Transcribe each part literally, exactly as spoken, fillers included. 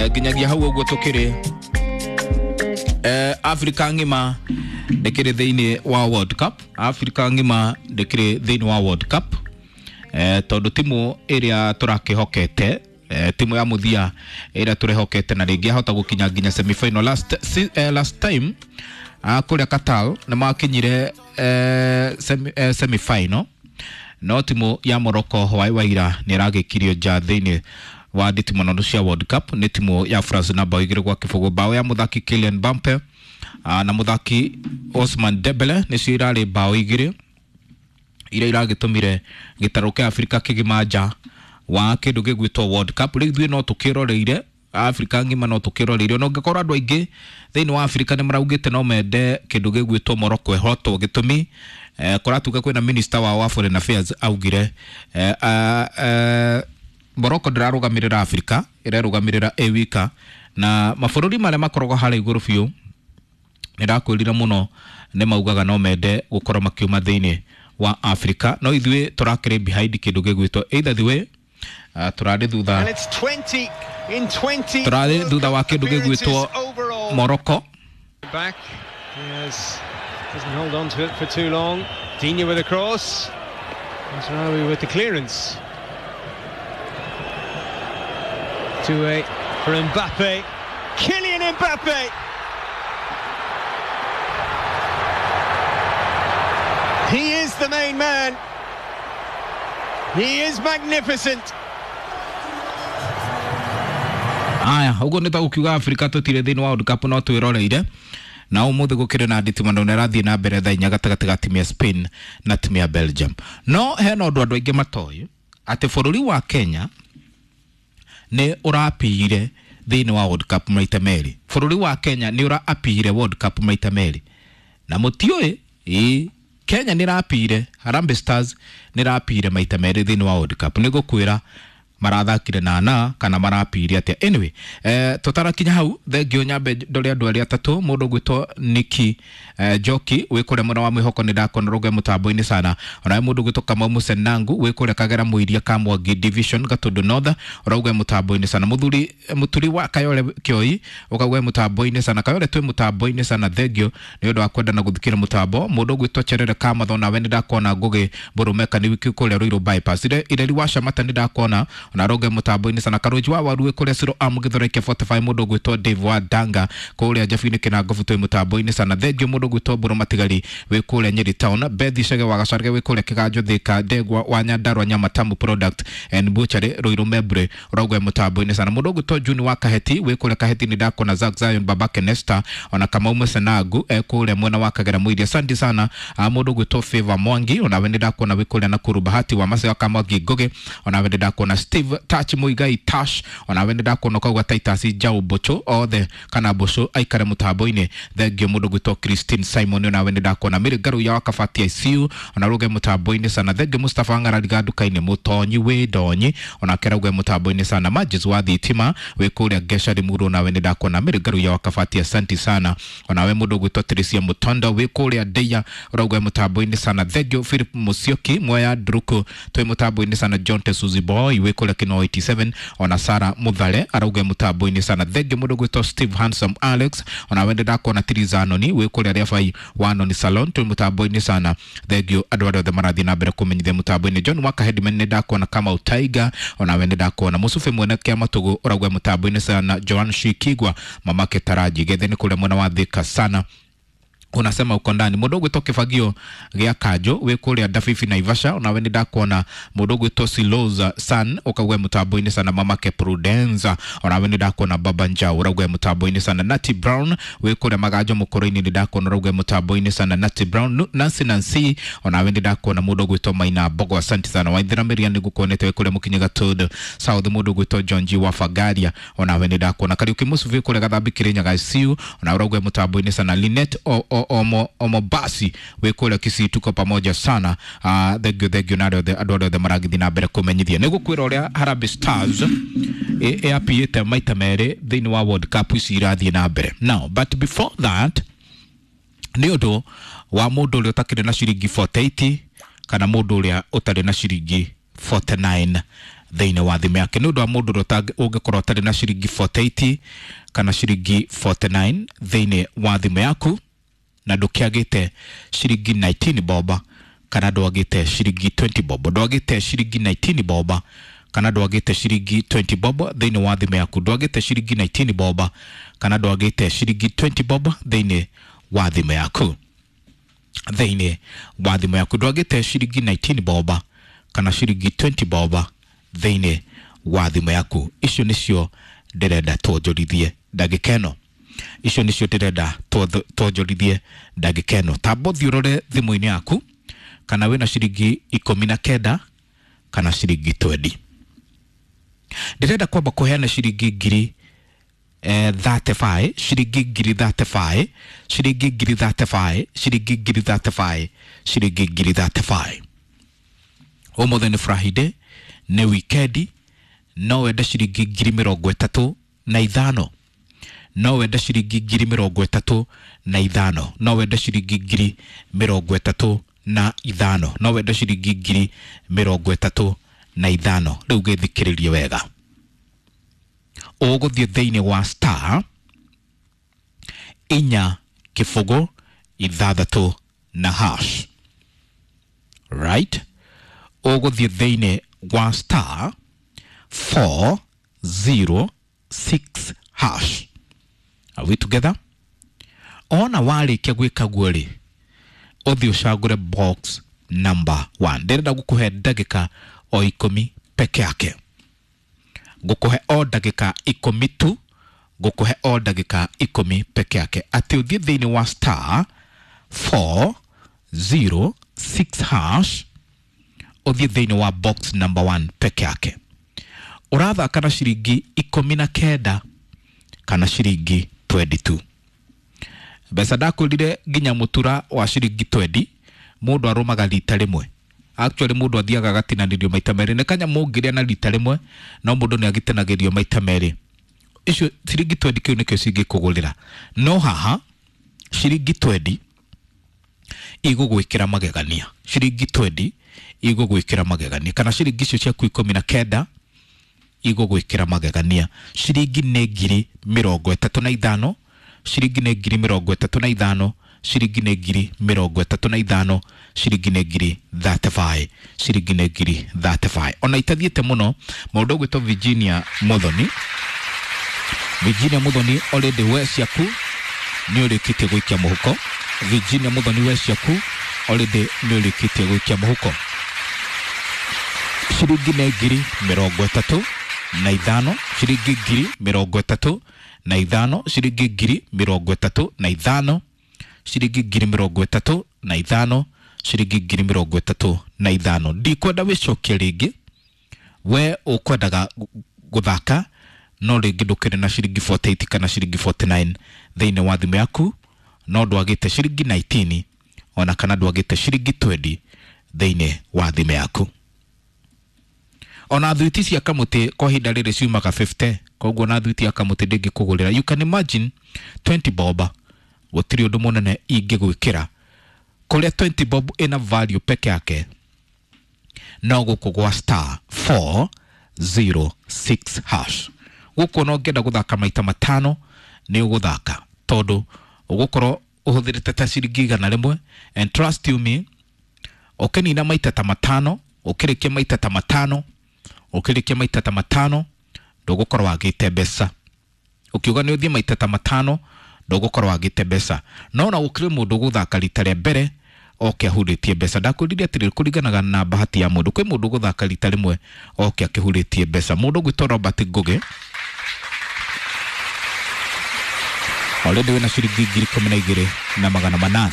Nginyagia hau ũguo tũkĩrĩ eh, Africa ng'ima ndĩkĩrĩ thĩinĩ wa World Cup. Africa ng'ima ndĩkĩrĩ thĩinĩ wa World Cup eh, tondũ timu ĩrĩa tũrakĩhokete, eh, timu ya mũthia ĩrĩa tũrehokete na rĩngĩ ahota gũkinya nginya semifinal last, si, eh, last time ah, kũrĩa Qatar nĩ makinyire eh, semi, eh, semifinal, no timu ya Morocco hwaĩ wa ira nĩ ĩragĩkirio nja thĩinĩ wa nditimũrano cia World Cup nĩ timu ya France na bao igĩrĩ gwa kĩbũgũ, bao ya mũthaki Kylian Mbappe ah, na mũthaki Ousmane Dembele nĩcio irarĩ bao igĩrĩ iria iragĩtũmire gĩtarũ kĩa Afrika kĩgima nja wa kĩndũ gĩgwĩtwo World Cup. Rĩu ithuĩ no tũkĩroreire, Afrika ng'ima no tũkĩroreire, ona ũngĩkorwo andũ aingĩ thĩinĩ wa Afrika nĩ maraugĩte no mende kĩndũ gĩgwĩtwo Morocco ĩhotwo. Gĩtũmi eh, kũratuĩka kwĩna minister wao wa foreign affairs augire eh, ah, eh, Morocco ndĩrarũgamĩrĩra Afrika, ĩrerũgamĩrĩra ĩ wika, na mabũrũri marĩa makoragwo harĩa igũrũ biũ nĩ ndakwĩrire mũno nĩ maugaga no mende gũkorwo makiuma thĩinĩ wa Afrika, no ithuĩ tũrakĩrĩ behind kĩndũ gĩgwĩtwo either the way uh, tũrarĩ thutha And it's twenty in twenty tũrarĩ thutha wa kĩndũ gĩgwĩtwo overall. Morocco. Back. Yes. Doesn't hold on to it for too long. Digne with a cross. Mazraoui with the clearance. two eight for Mbappe. Kylian Mbappe! He is the main man. He is magnificent. Aya, ũguo nĩ ta gũkiuga Afrika tũtirĩ thĩinĩ wa World Cup, no twĩroreire. Na ũmũthĩ gũkĩrĩ na nditimũrano na ĩrathiĩ na mbere thaa inya gatagatĩ ga timu ya Spain na timu ya Belgium. No hena ũndũ andũ aingĩ matoĩ, atĩ bũrũri wa Kenya nĩ ũrapire thĩinĩ wa World Cup maita merĩ. Bũrũri wa Kenya nĩ ũraapire World Cup maita merĩ na mũtiũĩ. Ĩ Kenya nĩ ĩrapire, Harambee Stars nĩ ĩrapire maita merĩ thĩinĩ wa World Cup. Nĩ ngũkwĩra marathakire na na kana marapire atĩa. Anyway, eh, tũtarakinya hau, thengio nyambe ndore andũ arĩa atatũ. Mũndũ ũgwĩtwo Niki eh, Njoki wĩ kũrĩa mwena wa mwĩhoko, nĩ ndakona rũge mũtambo-inĩ sana. Onawe mũndũ ũgwĩtwo Kamau Mũcenangu wĩ kũrĩa Kagera Mũiria Kamwangi Division Gatundu North, ũrauga mũtambo-inĩ sana. Mũthuri mũturi wa Kayore Kĩoi ũkauga mũtambo-inĩ sana. Kayore twĩ mũtambo-inĩ sana, thengio nĩ ũndũ wa kwenda na gũthikĩra mũtambo. Mũndũ ũgwĩtwo Cherere Kamatho, nawe nĩ ndakuona. Ngũgĩ Mũrũmeka nĩ wiki kũrĩa Ruiru Bypass, ire Ireri wa Shamata nĩ ndakuona ona roge mũtambo-inĩ sana. Karũnji wa Waru wĩ kũrĩa Ciro Am Gĩthoreke mĩrongo ĩna na ithano. Mũndũ ũgwĩtwo Dave wa Danga kũrĩa Njabu-inĩ Kĩnangobu twĩ mũtambo-inĩ sana, thengio. Mũndũ ũgwĩtwo Mbũrũ Matigari wĩ kũrĩa Nyeri Town. Bethi Cege wa Gacarge wĩ kũrĩa Kĩganjo Thĩka. Ndegwa wa Nyandarua Nyamatamu Product and Butchery Ruiru Membre ũrauga mũtambo-inĩ sana. Mũndũ ũgwĩtwo Juni wa Kaheti wĩ kũrĩa Kaheti nĩ ndakona. Zack Zion Babake Nesta ona Kamau Mũcenangu e kũrĩa mwena wa Kagera Mũiria, asante sana. Ah, mũndũ ũgwĩtwo Favor Mwangi onawe nĩ ndakuona wĩ kũrĩa Nakuru. Bahati wa Maseo Kamwangi Ngũgĩ onawe nĩ ndakuona. Steve Touch Muigai Tash onawe nĩ ndakuona ũkauga Titus Njau Mbũchũ othe kana Mbũcũ aikare mũtambo-inĩ, thengio. Mũndũ ũgwĩtwo Christine Simon onawe nĩ ndakuona. Mary Ngaruiya wa Kabati I C U ona ruge mũtambo-inĩ sana, thengio. Mustafa Ng'arariga nduka-inĩ Mũtonyi wĩ Ndonyi onake rauge mũtambo-inĩ sana. Majis wa Thitima wĩ kũrĩa Gesha Limuru onawe nĩ ndakuona. Mary Ngaruiya wa Kabati, asante sana. Onawe mũndũ ũgwĩtwo Teresia Mũtondo wĩ kũrĩa Ndeia ũrauga mũtambo-inĩ sana, thengio. Philip Musyoki Mwea Ndruku twĩ mũtambo-inĩ sana. John Tesuzi Boy wĩ kũrĩa Kino eighty-seven, ona Sara Muthare arauga mũtambo-inĩ sana, thengio. Mũndũ ũgwĩtwo Steve Handsome Alex onawe nĩ ndakuona. Tiriza Anoni wĩ kũrĩa Rĩabai wa Noni Salon twĩ mũtambo-inĩ sana, thengio. Andũ arĩa othe marathiĩ na mbere kũmenyithia mũtambo-inĩ. John Waka Headman nĩ ndakuona. Kamau Tiger onawe nĩ ndakuona. Mũcubi mwene kĩa matũgũ ũrauga mũtambo-inĩ sana. Joan Shikigwa mamake Taraji gethe nĩ kũrĩa mwena wa Thika sana, unasema uko ndani. Mũndũ ũgwĩtwo Kĩbagio gĩa Kanjũ wĩ kũrĩa Ndabibi Naivasha onawe nĩ ndakuona. Mũndũ ũgwĩtwo Siloza San ũkauga mũtambo-inĩ sana. Mamake Prudenza onawe nĩ ndakuona. Baba Njau ũrauga mũtambo-inĩ sana. Nati Brown wĩ kũrĩa Maganjo Mũkũrũ-inĩ nĩ ndakuona, ũrauga mũtambo-inĩ sana. Nati Brown. Nu- Nancy Nancy onawe nĩ ndakuona. Mũndũ ũgwĩtwo Maina Mbogo, asante sana. Waithera Mĩria nĩ ngũkuonete wĩ kũrĩa Mũkinyi Gatũndũ South. Mũndũ ũgwĩtwo John G wa Fagaria onawe nĩ ndakuona. Kariũki Mũcubi kũrĩa Gathambi Kĩrĩnyaga I C U ona ũrauga mũtambo-inĩ sana. Linet o, o, omo, Omobasi wĩ kũrĩa Kisii, tuko pamoja sana. uh, thengio thengio na arĩa othe andũ arĩa othe maragĩthiĩ na mbere kũmenyithia. Nĩ gũkwĩra ũrĩa Harambee Stars ĩapiĩte maita merĩ thĩinĩ wa World Cup ici irathiĩ na mbere. Now, but before that, nĩ ũndũ wa mũndũ ũrĩa ũtakĩrĩ na ciringi mĩrongo ĩna na nyanya kana mũndũ ũrĩa ũtarĩ na ciringi mĩrongo ĩna na inyanya. thĩinĩ wa thimũ yake. Nĩ ũndũ wa mũndũ ũrĩa ũngĩkorwo ũtarĩ na ciringi forty-eight kana ciringi forty-nine thĩinĩ wa thimũ yaku, na ndũkĩagĩte ciringi nineteen boba kana ndwagĩte ciringi twenty bob, ndwagĩte ciringi nineteen boba kana ndwagĩte ciringi twenty bob thĩinĩ wa thimũ yaku, ndwagĩte ciringi nineteen boba kana ndwagĩte ciringi twenty bob thĩinĩ wa thimũ yaku, thĩinĩ wa thimũ yaku ndwagĩte ciringi nineteen boba kana ciringi twenty boba thĩinĩ wa thimũ yaku. Icio nĩcio ndĩrenda twonjorithie ndagĩka ĩno, icio nĩcio ndĩrenda twonjorithie ndagĩka ĩno. Tamba ũthiĩ ũrore thimũ-inĩ yaku kana wĩna ciringi ikũmi na kenda kana ciringi twenty. Ndĩrenda kwamba kũheana ciringi ngiri eh, thirty-five, ciringi ngiri thirty-five, ciringi ngiri thirty-five, ciringi ngiri thirty-five, ciringi ngiri thirty-five. Ũmũthĩ nĩ Friday, nĩ wikendi, no wende ciringi ngiri mĩrongo ĩtatũ na ithano, no wende ciringi ngiri mĩrongo ĩtatũ na ithano, no wende ciringi ngiri mĩrongo ĩtatũ na ithano, no wende ciringi ngiri mĩrongo ĩtatũ na ithano. Rĩu gĩthikĩrĩrie wega, ũgũthiĩ thĩinĩ wa star inya kĩbũgũ ithathatũ na hash, right? Ũgũthiĩ thĩinĩ wa star four zero six hash. Are we together? Ona warĩkia gwĩka guo rĩ, ũthiĩ ũcagũre box number one. Ndĩrenda gũkũhe ndagĩka o ikũmi peke yake, ngũkũhe o ndagĩka ikũmi tu, ngũkũhe o ndagĩka ikũmi peke yake, atĩ ũthiĩ thĩinĩ wa star four zero six hash, ũthiĩ thĩinĩ wa box number one peke yake. Ũrathaka na ciringi ikũmi na kenda kana ciringi twenty-two. Mbeca ndakwĩrire nginya mũtura wa ciringi twenty mũndũ arũmaga rita rĩmwe. Actually mũndũ athiaga agatinanĩrio maita merĩ, nĩ kanyamũ ũngĩrĩa na rita rĩmwe no mũndũ nĩ agĩtinagĩrio maita merĩ. Icio ciringi twenty kĩu nĩkĩo cingĩkũgũrĩra, no haha ciringi twenty igũgwĩkĩra magegania, ciringi twenty igũgwĩkĩra magegania, kana ciringi icio ciaku ikũmi na kenda igũgwĩkĩra magegania. Ciringi nĩ ngiri mĩrongo ĩtatũ na ithano, ciringi nĩ ngiri mĩrongo ĩtatũ na ithano, ciringi nĩ ngiri mĩrongo ĩtatũ na ithano, ciringi nĩ ngiri thirty-five, ciringi nĩ ngiri thirty-five. Ona itathiĩte mũno, mũndũ ũgwĩtwo Virginia Muthoni, Virginia Muthoni already we ciaku nĩ ũrĩkĩtie gũikia mũhuko. Virginia Muthoni we ciaku already nĩ ũrĩkĩtie gũikia mũhuko. Ciringi nĩ ngiri mĩrongo ĩtatũ na ithano, ciringi ngiri mĩrongo ĩtatũ na ithano, ciringi ngiri mĩrongo ĩtatũ na ithano, ciringi ngiri mĩrongo ĩtatũ na ithano, ciringi ngiri mĩrongo ĩtatũ na ithano. Ndikwenda wĩcokie rĩngĩ, we ũkwendaga gũthaka no rĩngĩ ndũkĩrĩ na ciringi forty-eight kana ciringi forty-nine thĩinĩ wa thimũ yaku, no ndwagĩte ciringi nineteen ona kana ndwagĩte ciringi twenty thĩinĩ wa thimũ yaku. Ona thuiti cia kamũtĩ kwa ihinda rĩrĩ ciumaga fifty, koguo ona thuiti ya kamũtĩ ndĩngĩkũgũrĩra. You can imagine twenty bob gũtirĩ ũndũ mũnene ingĩgwĩkĩra, kũrĩa twenty bob ĩna value peke yake no gũkũ gwa star four zero six hash. Gũkũ no ũngĩenda gũthaka maita matano nĩ ũgũthaka, tondũ ũgũkorwo ũhũthĩrĩte ta ciringi igana rĩmwe, and trust you me, ũkĩnina maita ta matano, ũkĩrĩkia maita ta matano, ũkĩrĩkia maita ta matano ndũgũkorwo wagĩte mbeca. Ũkiuga nĩ ũthiĩ maita ta matano ndũgũkorwo wagĩte mbeca. No na gũkĩrĩ mũndũ ũgũthaka rita rĩa mbere oke ahurĩtie mbeca. Ndakwĩrire atĩrĩrĩ, kũringanaga na bahati ya mũndũ. Kwĩ mũndũ ũgũthaka rita rĩmwe oke akĩhurĩtie mbeca. Mũndũ ũgwĩtwo Robert Ngũgĩ already wĩna ciringi ngiri ikũmi na igĩrĩ na magana manana,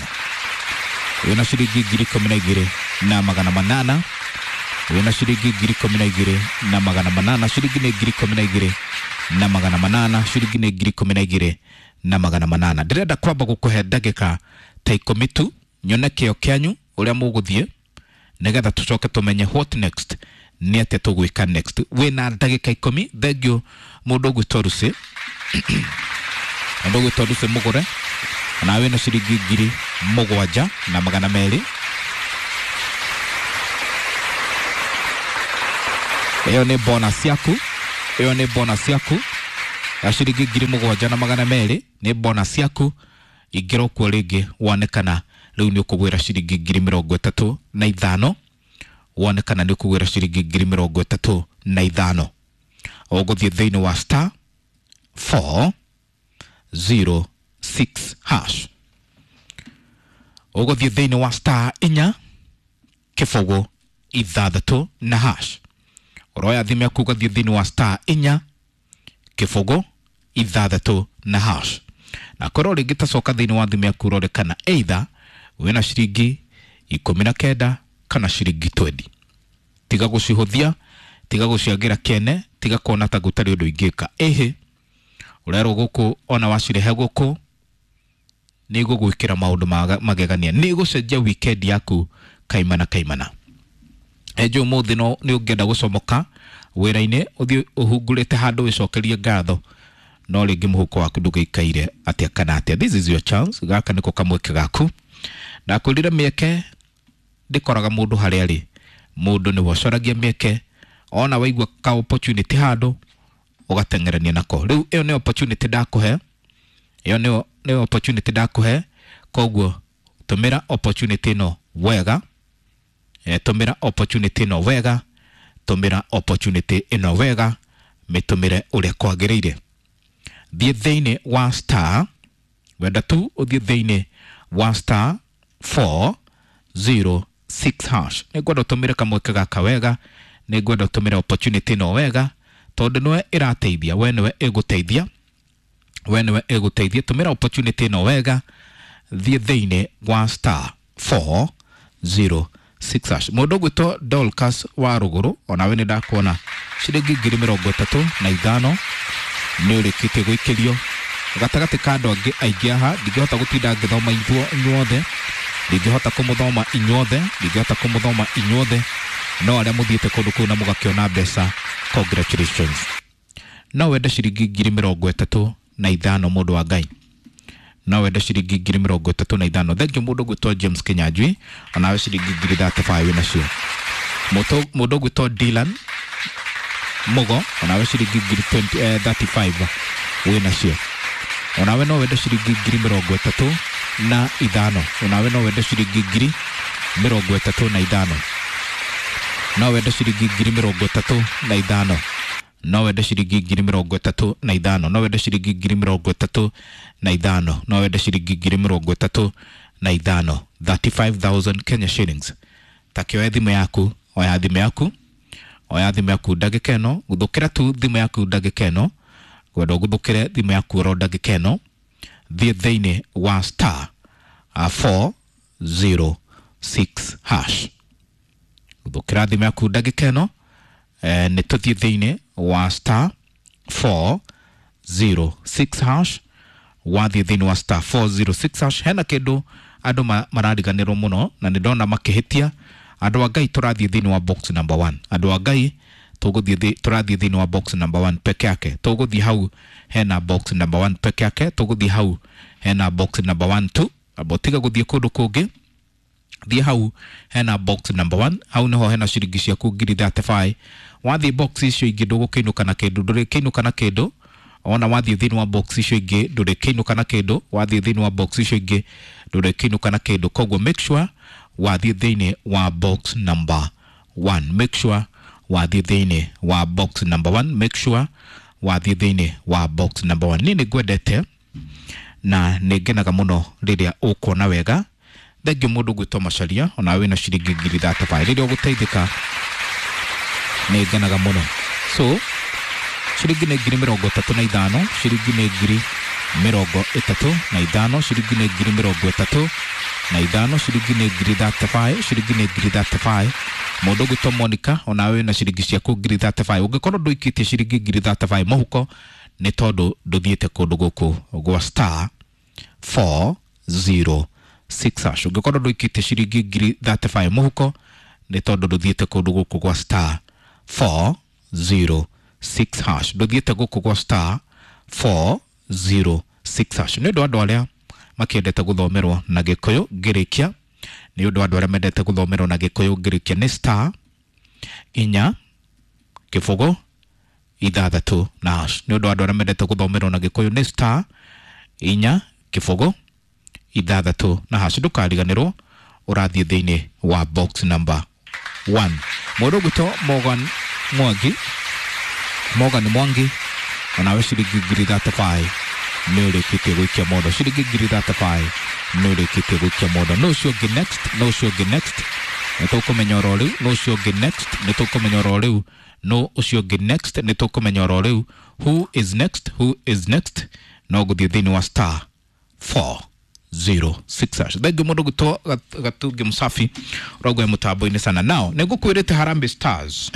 wĩna ciringi ngiri ikũmi na igĩrĩ na magana manana, wĩna ciringi ngiri ikũmi na igĩrĩ na magana manana, ciringi nĩ ngiri ikũmi na igĩrĩ na magana manana, ciringi nĩ ngiri ikũmi na igĩrĩ na magana manana. Ndĩrenda kwamba gũkũhe ndagĩka ta ikũmi tu nyone kĩo kĩanyu ũrĩa mũgũthiĩ, nĩgetha tũcoke tũmenye what next, nĩ atĩa tũgwĩka next. Wĩna ndagĩka ikũmi. Thengiũ mũndũ ũgwĩtwo Lucy, mũndũ ũgwĩtwo Lucy mũgũre, na wĩna ciringi ngiri mũgwanja na magana merĩ. Ĩyo nĩ bonus yaku, ĩyo nĩ bonus yaku ya ciringi ngiri mũgwanja na magana merĩ, nĩ bonus yaku. Ingĩra kuo rĩngĩ wone kana rĩu nĩ ũkũgwĩra ciringi ngiri mĩrongo ĩtatũ na ithano, wone kana nĩ ũkũgwĩra ciringi ngiri mĩrongo ĩtatũ na ithano. Ũgũthiĩ thĩinĩ wa star four zero six hash, ũgũthiĩ thĩinĩ wa star inya kĩbũgũ ithathatũ na hash. Ũroya thimũ yaku ũgathiĩ thĩinĩ wa star inya kĩbũgũ ithathatũ na hash, na korwo rĩngĩ tacoka thĩinĩ wa thimũ yaku ũrore kana either wĩna ciringi ikũmi na kenda kana ciringi twenty. Tiga gũcihũthia, tiga gũciagĩra kĩene, tiga kuona ta gũtarĩ ũndũ ingĩka. Ĩhĩ, ũrerwo gũkũ ona wacirehe gũkũ nĩ igũgwĩkĩra maũndũ magegania, nĩ igũcenjia weekend yaku kaimana kaimana. Enjo ũmũthĩ no nĩ ũngĩenda gũcomoka wĩra-inĩ ũthiĩ ũhungurĩte handũ wĩcokerie ngatho, no rĩngĩ mũhuko waku ndũgĩikaire atĩa kana atĩa. This is your chance, gaka nĩko kamweke gaku. Ndakwĩrire mĩeke ndĩkoraga mũndũ harĩa arĩ, mũndũ nĩwe ũcoragia mĩeke. Ona waigua ka opportunity handũ ũgateng'erania nako. Rĩu ĩyo nĩ opportunity ndakũhe, ĩyo nĩyo nĩ opportunity ndakũhe, koguo tũmĩra opportunity ĩno wega, e, tũmĩra opportunity ĩno wega, tũmĩra opportunity ĩno wega, mĩtũmĩre ũrĩa kwagĩrĩire. Thiĩ thĩinĩ wa star, wenda tu ũthiĩ thĩinĩ wa star four zero six hash. Nĩngwenda ũtũmĩre kamweke gaka wega, nĩngwenda ũtũmĩre opportunity ĩno wega, tondũ nĩwe ĩrateithia, we nĩwe ĩgũteithia, we nĩwe ĩgũteithia. Tũmĩra opportunity ĩno wega, thiĩ thĩinĩ wa star four zero six hash. Mũndũ ũgwĩtwo Dorcas wa Rũgũrũ, onawe nĩ ndakuona ciringi ngiri mĩrongo ĩtatũ na ithano nĩ ũrĩkĩtie gũikĩrio gatagatĩ ka andũ angĩ aingĩ haha. Ndingĩhota gũtinda ngĩthoma inyuothe, ndingĩhota kũmũthoma inyuothe, ndingĩhota kũmũthoma inyuothe, no arĩa mũthiĩte kũndũ kũu na mũgakĩona mbeca, congratulations. No wende ciringi ngiri mĩrongo ĩtatũ na ithano, mũndũ wa Ngai, no wende ciringi ngiri mĩrongo ĩtatũ na ithano. Thank you mũndũ ũgwĩtwo James Kinyanjui, onawe ciringi ngiri thirty five wĩnacio. Mũndũ ũgwĩtwo Dylan Mugo, onawe ciringi ngiri twenty, eh, thirty five wĩnacio. Onawe no wende ciringi ngiri mĩrongo ĩtatũ na ithano, onawe no wende ciringi ngiri mĩrongo ĩtatũ na ithano, no wende ciringi ngiri mĩrongo ĩtatũ na ithano, no wende ciringi ngiri mĩrongo ĩtatũ na ithano, no wende ciringi ngiri mĩrongo ĩtatũ na ithano, no wende ciringi ngiri mĩrongo ĩtatũ na ithano, thirty five thousand Kenya shillings. Takĩoya thimũ yaku, oya thimũ yaku, oya thimũ yaku ndagĩka ĩno, gũthũkĩra tu thimũ yaku ndagĩka ĩno, ngwenda ũgũthũkĩre thimũ yaku oro ndagĩka ĩno. Thiĩ thĩinĩ wa star four zero six hash, gũthũkĩra thimũ yaku ndagĩka ĩno. Eh, nĩ tũthiĩ thĩinĩ wa star four zero six hash. Wathiĩ thĩinĩ wa star four zero six hash, hena kĩndũ andũ marariganĩrwo mũno na nĩ ndona makĩhĩtia. Andũ a Ngai, tũrathiĩ thĩinĩ wa box number one. Andũ a Ngai, tũgũthiĩ tũrathiĩ thĩinĩ wa box number one peke yake. Tũgũthiĩ hau hena box number one peke yake, tũgũthiĩ hau hena box number one tu. Abo tiga gũthiĩ kũndũ kũngĩ, thiĩ hau hena box number one, hau niho hena ciringi ciaku ngiri thirty five. Wathiĩ box icio ingĩ ndũgũkĩinũka na kĩndũ, ndũrĩkĩinũka na kĩndũ. Ona wathiĩ thĩinĩ wa box icio ingĩ ndũrĩkĩinũka na kĩndũ, wathiĩ thĩinĩ wa box icio ingĩ ndũrĩkĩinũka na kĩndũ. Koguo make sure wathiĩ thĩinĩ wa box number one, make sure wathiĩ thĩinĩ wa box number one, make sure wathiĩ thĩinĩ wa box number one. Niĩ nĩngwendete na nĩngenaga mũno rĩrĩa ũkuona wega. Thengiũ mũndũ ũgwĩtwo Macharia, onawe wĩna ciringi ngiri thirty five. Rĩrĩa ũgũteithĩka nĩngenaga mũno. So ciringi nĩ ngiri mĩrongo ĩtatũ na ithano, ciringi nĩ ngiri mĩrongo ĩtatũ na ithano, ciringi nĩ ngiri mĩrongo ĩtatũ na ithano, ciringi nĩ ngiri thirty five, ciringi nĩ ngiri thirty five. Mũndũ ũgwĩtwo Monica, onawe wĩna ciringi ciaku ngiri thirty five. Ũngĩkorwo ndũikĩtie ciringi ngiri thirty five mũhuko nĩ tondũ ndũthiĩte kũndũ gũkũ gwa star four zero six hash. Ũngĩkorwo ndũikĩtie ciringi ngiri thirty five mũhuko nĩ tondũ ndũthiĩte kũndũ gũkũ gwa star four zero six hash, ndũthiĩte gũkũ gwa star four zero six hash. Nĩ ũndũ wa andũ arĩa makĩendete gũthomerwo na Gĩkũyũ ngĩrĩkia, nĩ ũndũ wa andũ arĩa mendete gũthomerwo na Gĩkũyũ ngĩrĩkia, nĩ star inya Kĩbũgũ ithathatũ na hash. Nĩ ũndũ wa andũ arĩa mendete gũthomerwo na Gĩkũyũ nĩ star inya kĩbũgũ ithathatũ na hash. Ndũkariganĩrwo ũrathiĩ thĩinĩ wa box number one. Mũndũ ũgwĩtwo Morgan Mwangi, Morgan Mwangi onawe ciringi ngiri thirty-five nĩ ũrĩkĩtie gũikia mondo. Ciringi ngiri thirty-five nĩ ũrĩkĩtie gũikia mondo. No ũcio ũngĩ next, no ũcio ũngĩ next, nĩ tũkũmenya oro rĩu. No ũcio ũngĩ next, nĩ tũkũmenya oro rĩu. No ũcio ũngĩ next, nĩ tũkũmenya oro rĩu. Who is next? Who is next? No gũthiĩ thĩinĩ wa star four zero six hash. Thengiũ mũndũ gwĩtwo Gatungi Mũsafi ũraugua mũtambo-inĩ sana. Now nĩ ngũkwĩrĩte Harambee Stars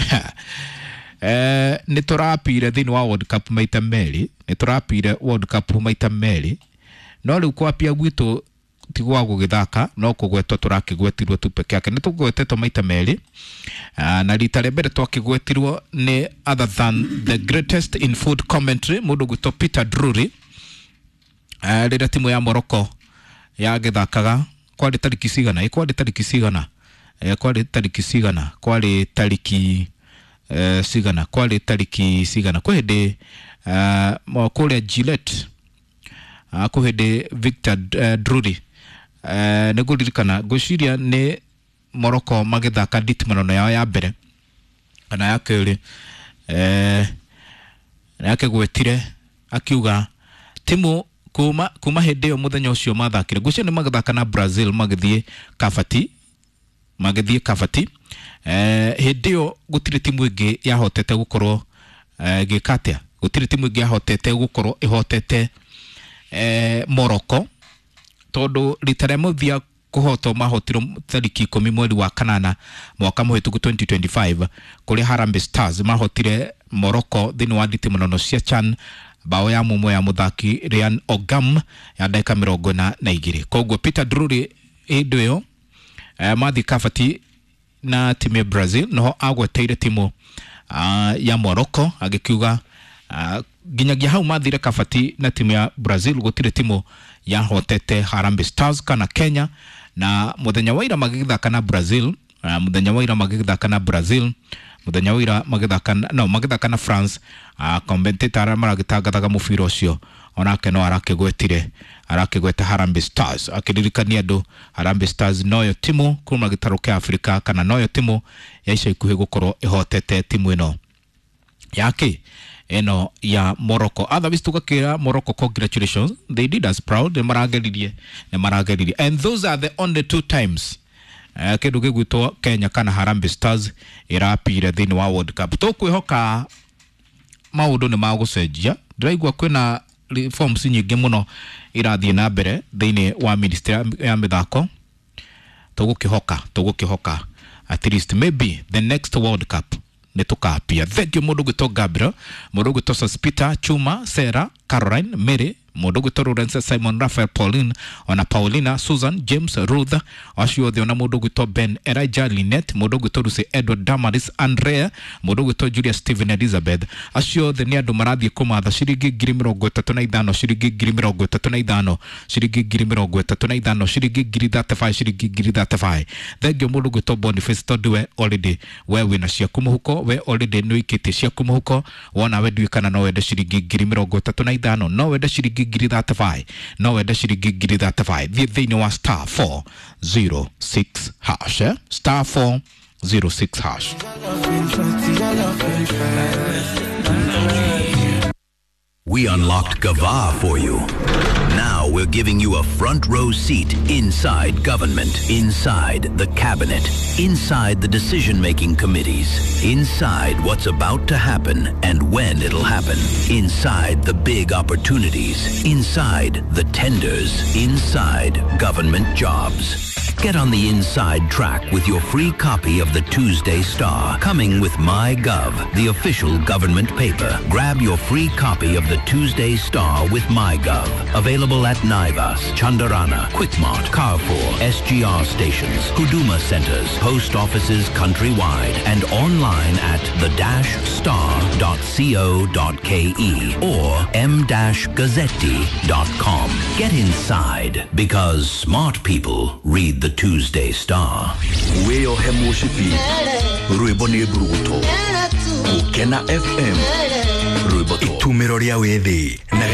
eh, nĩ tũrapire thĩinĩ wa World Cup maita merĩ, nĩ tũrapire World Cup maita merĩ, no rĩu kwapia gwitũ ti gwa gũgĩthaka no kũgwetwo tũrakĩgwetirwo tu peke yake. Nĩ tũgwetetwo maita merĩ, na rita rĩa mbere twakĩgwetirwo nĩ other than the greatest in food commentary mũndũ gwĩtwo Peter Drury, rĩrĩa timu ya Morocco yagĩthakaga kwarĩ tarĩki cigana, kwarĩ tarĩki cigana, kwarĩ tarĩki cigana, kwarĩ tarĩki cigana, kwarĩ tarĩki cigana, kwĩ hĩndĩ kũrĩa Gillette, kwĩ hĩndĩ Victor Drury, nĩ ngũririkana ngwĩciria nĩ Morocco magĩthaka nditimũrano yao ya mbere kana ya kerĩ, nĩakĩgwetire akiuga timu kuma kuma hĩndĩ ĩyo mũthenya ũcio mathakire, ngwĩciria nĩ magĩthaka na Brazil magĩthiĩ Kabati, magĩthiĩ Kabati, hĩndĩ ĩyo gũtirĩ timu ĩngĩ yahotete gũkorwo ĩgĩka atĩa, gũtirĩ timu ĩngĩ yahotete gũkorwo ĩhotete Morocco, tondũ rita rĩa mũthia kũhotwo mahotirwo tarĩki ikũmi mweri wa kanana mwaka mũhĩtũku twenty twenty-five, kũrĩa Harambee Stars mahotire Morocco thĩinĩ wa nditimũrano cia CHAN bao ya mũmwe ya mũthaki Ryan Ogam ya ndagĩka mĩrongo ĩna na igĩrĩ. Koguo Peter Drury hĩndĩ ĩyo mathiĩ Kabati na timu ya Brazil noho agweteire timu ya Morocco agĩkiuga nginyagia hau mathire Kabati na timu ya Brazil gũtirĩ timu yahotete Harambee Stars kana Kenya. Na mũthenya wa ira magĩthaka na Brazil, mũthenya wa ira magĩthaka na Brazil, mũthenya wa ira magĩthaka no magĩthaka na France, commentator arĩa maragĩtangathaga mũbira ũcio onake no arakĩgwetire, arakĩgweta Harambee Stars akĩririkania andũ Harambee Stars noyo timu kuma gĩtarũ kĩa Afrika kana noyo timu ya ica ikuhĩ gũkorwo ĩhotete timu ĩno yake ĩno ya Morocco. Otherwise tugakĩra Morocco congratulations, they did us proud, nĩ marageririe, nĩ marageririe, and those are the only two times kĩndũ gĩgwĩtwo Kenya kana Harambee Stars ĩrapire thĩinĩ wa World Cup. Tũkwĩhoka maũndũ nĩ magũcenjia, ndĩraigua kwĩna reforms nyingĩ mũno irathiĩ na mbere thĩinĩ wa ministry ya mĩthako. Tũgũkĩhoka, tũgũkĩhoka at least maybe the next World Cup nĩ tũkapia. Thank you mũndũ gwĩtwo Gabriel, mũndũ gwĩtwo Sospita, Chuma, Sarah, Caroline, Mary, mũndũ gwĩtwo Lawrence, Simon, Raphael, Pauline, ona Paulina, Susan, James, Ruth, acio othe, ona mũndũ gwĩtwo Ben, Elijah, Lynette, mũndũ gwĩtwo Lucy, Edward, Damaris, Andrea, mũndũ gwĩtwo Julia, Stephen, Elizabeth, acio othe nĩ andũ marathiĩ kũmatha ciringi ngiri mĩrongo ĩtatũ na ithano, ciringi ngiri mĩrongo ĩtatũ na ithano, ciringi ngiri mĩrongo ĩtatũ na ithano, ciringi ngiri thirty-five, ciringi ngiri thirty-five. Thank you mũndũ gwĩtwo Boniface, tondũ we already we wĩna ciaku mũhuko, we already nĩ ũikĩtie ciaku mũhuko, wona we ndiũĩ kana no wende ciringi ngiri mĩrongo ĩtatũ na ithano, no wende ciringi ngiri thirty-five, no wende ciringi ngiri thirty-five. Thiĩ thĩinĩ wa star four zero six hash, eh? Star four zero six hash. We unlocked Gava for you. Now we're giving you a front row seat inside government, inside the cabinet, inside the decision-making committees, inside what's about to happen and when it'll happen, inside the big opportunities, inside the tenders, inside government jobs. Get on the inside track with your free copy of the Tuesday Star, coming with MyGov, the official government paper. Grab your free copy of the Tuesday Star with MyGov. Available at Naivas, Chandarana, Quickmart, Carrefour, S G R stations, Huduma centers, post offices countrywide, and online at the dash star dot co dot ke or m dash gazzetti dot com. Get inside, because smart people read the Tuesday Star. Wĩyohe mũcibi, rwĩmbo nĩ mburuguto. Kena F M rwĩmbo. Itumĩro rĩa wĩthĩ na